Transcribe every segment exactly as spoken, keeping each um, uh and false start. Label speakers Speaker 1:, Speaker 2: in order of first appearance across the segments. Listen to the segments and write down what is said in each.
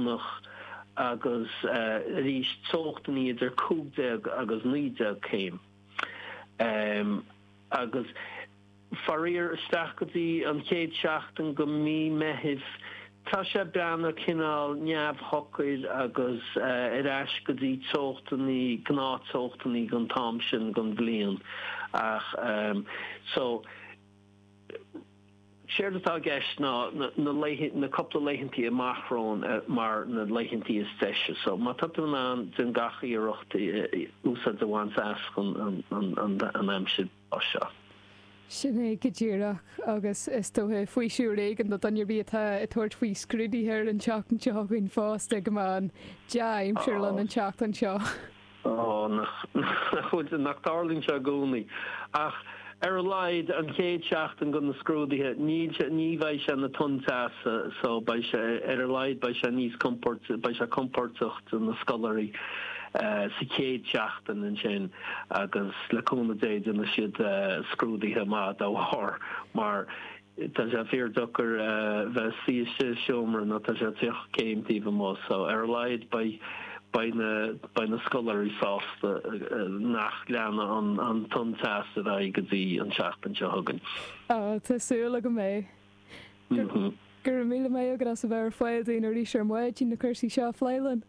Speaker 1: Domhnach agus arís teochtanna idir cúig déag agus naoi déag céim. Agus faraor isteach go dtí an chéad seachtain go mí Meithimh tá sé breathnú cineál neamhshocair agus ar ais go dtí teochtanna, gnáth-teochtanna don t-am sin den bhliain. Ach so séard atá i gceist ná na laethe, na cúpla laethantaí amach romhainn mar na laethantaí is deise. So má tá tú in ann, déan gach iarracht úsáid a bhaint as an an aimsir seo.
Speaker 2: Sin é go díreach, agus is dócha faoiseamh éigin do dhuine ar bith atá ag tabhairt faoi scrúduithe ar an tseachtain seo chugainn fosta go mbeidh an dea-aimsir linn an tseachtain seo.
Speaker 1: Ó, nach bhfuil, nach dtarlaíonn sé i gcónaí. Ach ar a laghad an chéad seachtain go na scrúduithe, níl sé, ní bheidh sé ina tonn teasa so beidh sé, ar a laghad beidh sé níos compord, beidh sé compordach do na scoláirí. sa chéad seachtain ansin agus le cúnamh Dé déanfaidh siad scrúduithe maith dá bharr mar tá sé fíor-deacair bheith suí istigh i seomra nuair tá sé tríocha céim taobh amuigh so ar a laghad beidh beidh na beidh na scoláirí sásta nach leanfaidh an tonn teasa ar aghaidh go dtí an tseachtain seo chugainn.
Speaker 2: Á, tá súil agam é. Go raibh míle maith agat as a bheith ar fáil dúinn arís ar maidin na cúrsaí seo a phlé linn.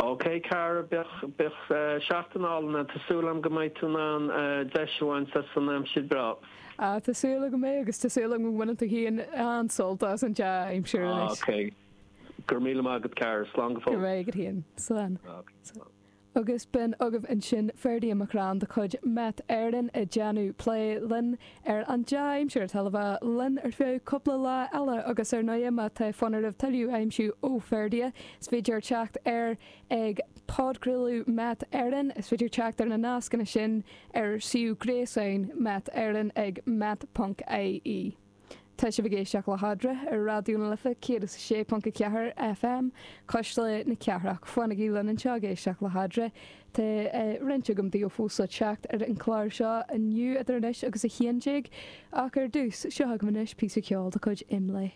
Speaker 1: Ok cara, bíodh, bíodh seachtain álainn agat, tá súil agam go mbeidh tú in ann deis a bhaint as an aimsir breá.
Speaker 2: Ah, tá súil agam é agus tá súil agam go mbaineann tú féin an-sult as an dea-aimsir anois.
Speaker 1: Ok, go raibh míle maith agat cara, slán go
Speaker 2: Go
Speaker 1: fóill.
Speaker 2: raibh agat féin. Slán.
Speaker 1: Ok, slán.
Speaker 2: Agus b'in agaibh ansin Ferdia McCrann de chuid Met Éireann ag déanamh plé linn ar an dea-aimsir atá le bheith linn ar feadh cúpla lá eile agus ar ndóigh má tá fonn oraibh tuilleadh a aimsiú ó Ferdia is féidir teacht air ag Podchraoladh Met Éireann. Is féidir teacht ar na nascanna sin ar suíomh gréasáin Met Éireann ag met ponc ie. Tá sibh ag éisteacht le hEadra ar Raidió na Life céad is a sé ponc a ceathair FM, Cuisle na Cathrach. Fanaigí linn anseo ag éisteacht le hEadra. Tá roinnt agam daoibh fós le teacht ar an chlár seo inniu idir anois agus a haon déag, ach ar dtús, seo agaibh anois píosa ceoil de chuid Imlé.